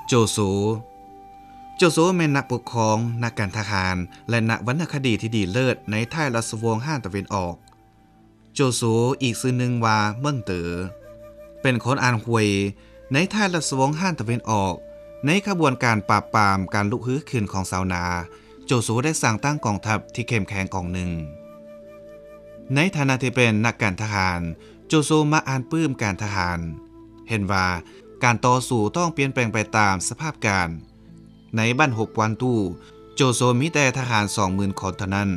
ໂຈໂຊ ໂຈໂຊແມ່ນນັກປົກຄອງ, ນັກການທະຫານ ແລະ ນັກວັນນະຄະດີທີ່ດີເລີດໃນທ້າຍລາຊະວົງຮານຕາເວັນອອກ. ໂຈໂຊ ອີກຊື່ໜຶ່ງວ່າເມິງເຕີ ເປັນຄົນອ່ານຫວຍໃນທ້າຍລາຊະວົງຮານຕາເວັນອອກ. ໃນຂະບວນການປາບປາມການລຸກຮືຂຶ້ນຂອງຊາວນາ, ໂຈໂຊໄດ້ສ້າງຕັ້ງກອງທັບທີ່ເຂັ້ມແຂງກອງໜຶ່ງ. ໃນຖານະທີ່ເປັນນັກການທະຫານ, ໂຈໂຊມັກອ່ານປຶ້ມການທະຫານ, ເຫັນວ່າການຕໍ່ສູ້ຕ້ອງປ່ຽນແປງໄປຕາມສະພາບການ. ໃນບັ້ນຮົບກວານຕູ, ໂຈໂຊມີແຕ່ທະຫານສອງໝື່ນຄົນເທົ່ານັ້ນ.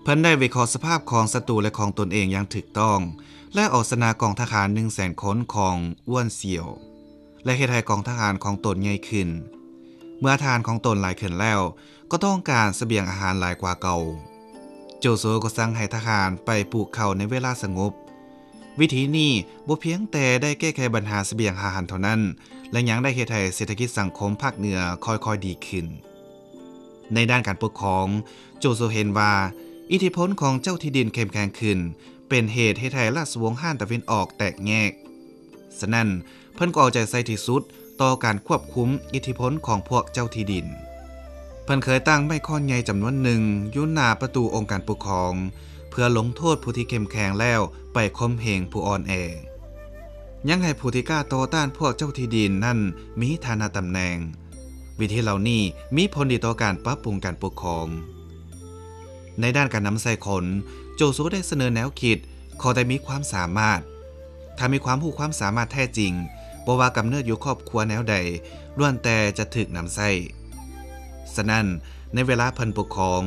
ເພິ່ນໄດ້ວິເຄາະສະພາບຂອງສັດຕູ ແລະ ຂອງຕົນເອງຢ່າງຖືກຕ້ອງ ແລະ ເອົາຊະນະກອງທະຫານໜຶ່ງແສນຄົນຂອງອວນຊຽວ ແລະ ເຮັດໃຫ້ກອງທະຫານຂອງຕົນໃຫຍ່ຂຶ້ນ. ເມື່ອທະຫານຂອງຕົນຫຼາຍຂຶ້ນແລ້ວ, ກໍຕ້ອງການສະບຽງອາຫານຫຼາຍກວ່າເກົ່າ. ໂຈໂຊກໍສັ່ງໃຫ້ທະຫານໄປປູກເຂົ້າໃນເວລາສະຫງົບ. ວິທີນີ້ບໍ່ພຽງແຕ່ໄດ້ແກ້ໄຂບັນຫາສະບຽງອາຫານເທົ່ານັ້ນ, ແລະ ຍັງໄດ້ເຮັດໃຫ້ເສດຖະກິດສັງຄົມພາກເໜືອຄ່ອຍໆດີຂຶ້ນ. ໃນດ້ານການປົກຄອງ, ໂຈໂຊເຫັນວ່າອິດທິພົນຂອງເຈົ້າທີ່ດິນເຂັ້ມແຂງຂຶ້ນ ເປັນເຫດເຮັດໃຫ້ລາຊະວົງຮານຕາເວັນອອກແຕກແຍກ. ສະນັ້ນ, ເພິ່ນກໍເອົາໃຈໃສ່ທີ່ສຸດຕໍ່ການຄວບຄຸມອິດທິພົນຂອງພວກເຈົ້າທີ່ດິນ. ເພິ່ນເຄີຍຕັ້ງໄມ້ຄ້ອນໃຫຍ່ຈຳນວນໜຶ່ງຢູ່ໜ້າປະຕູອົງການປົກຄອງ ເພື່ອລົງໂທດຜູ້ທີ່ເຂັ້ມແຂງແລ້ວໄປຂົ່ມເຫງຜູ້ອ່ອນແອ, ຍັງໃຫ້ຜູ້ທີ່ກ້າຕໍ່ຕ້ານພວກເຈົ້າທີ່ດິນນັ້ນມີຖານະຕຳແໜ່ງ. ວິທີເຫຼົ່ານີ້ມີຜົນດີຕໍ່ການປັບປຸງການປົກຄອງ. ໃນດ້ານການນຳໃຊ້ຄົນ, ໂຈໂຊໄດ້ສະເໜີແນວຄິດ ຂໍແຕ່ມີຄວາມສາມາດ. ຖ້າມີຄວາມຮູ້ຄວາມສາມາດແທ້ຈິງ, ບໍ່ວ່າກຳເນີດຢູ່ຄອບຄົວແນວໃດ, ລ້ວນແຕ່ຈະຖືກນຳໃຊ້. ສະນັ້ນ, ໃນເວລາເພິ່ນປົກຄອງ,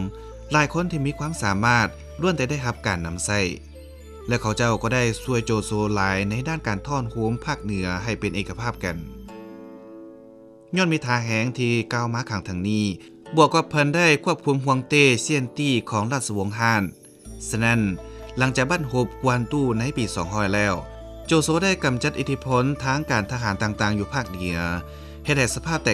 ຫຼາຍຄົນທີ່ມີຄວາມສາມາດລ້ວນແຕ່ໄດ້ຮັບການນຳໃຊ້, ແລະ ເຂົາເຈົ້າກໍໄດ້ຊ່ວຍໂຈໂຊຫຼາຍໃນດ້ານການທ້ອນໂຮມພາກເໜືອໃຫ້ເປັນເອກະພາບກັນ. ຍ້ອນມີທ່າແຮງທີ່ກ່າວມາຂ້າງເທິງນີ້, ບວກກັບເພິ່ນໄດ້ຄວບຄຸມຮ່ວງເຕ້ຊຽນຕີຂອງລາຊະວົງຮານ. ສະນັ້ນ, ຫຼັງຈາກບັ້ນຮົບກວານຕູໃນປີສອງຮ້ອຍແລ້ວ, ໂຈໂຊໄດ້ກຳຈັດອິດທິພົນທາງການທະຫານຕ່າງໆຢູ່ພາກເໜືອ, ເຮັດໃຫ້ສະພາບແຕ